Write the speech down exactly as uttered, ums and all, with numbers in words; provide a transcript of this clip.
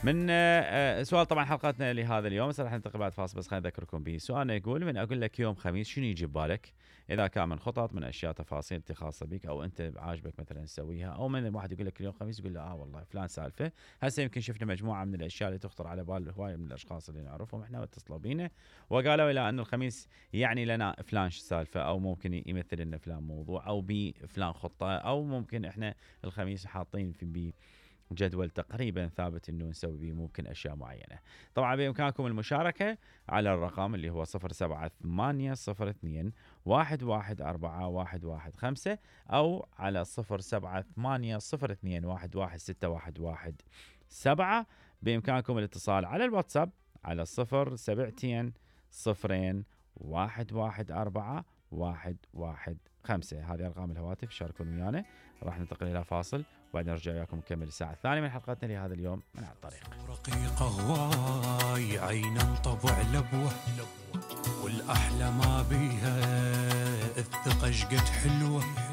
من آه سؤال طبعا حلقتنا لهذا اليوم، راح ننتقل بعد فاصل، بس خليني اذكركم به. سؤالنا يقول: من اقول لك يوم خميس شنو يجي ببالك؟ اذا كان من خطط، من اشياء تفاصيل انت خاصه بك او انت عاجبك مثلا تسويها، او من الواحد يقول لك اليوم خميس يقول له اه والله فلان سالفه. هسه يمكن شفنا مجموعه من الاشياء اللي تخطر على بال هوايه من الاشخاص اللي نعرفهم احنا واتصلوا بينا وقالوا الى انه الخميس يعني لنا فلان سالفه، او ممكن يمثل لنا فلان موضوع، او بفلان خطه، او ممكن احنا الخميس حاطين في بي جدول تقريبا ثابت انه نسوي به ممكن اشياء معينه. طبعا بامكانكم المشاركه على الرقم اللي هو صفر سبعة ثمانية صفر اثنين واحد واحد أربعة واحد واحد خمسة، او على صفر سبعة ثمانية صفر اثنين واحد واحد ستة واحد واحد سبعة. بامكانكم الاتصال على الواتساب على صفر سبعتين صفرين واحد واحد أربعة واحد واحد خمسة. هذه ارقام الهواتف، شاركون ويانا. راح ننتقل الى فاصل وبعدين نرجع وياكم نكمل الساعه الثانيه من حلقتنا لهذا اليوم من على الطريق. رقيقه هواي عينا طبع لبوه، والاحلى ما بيها الثقه شقد حلوه.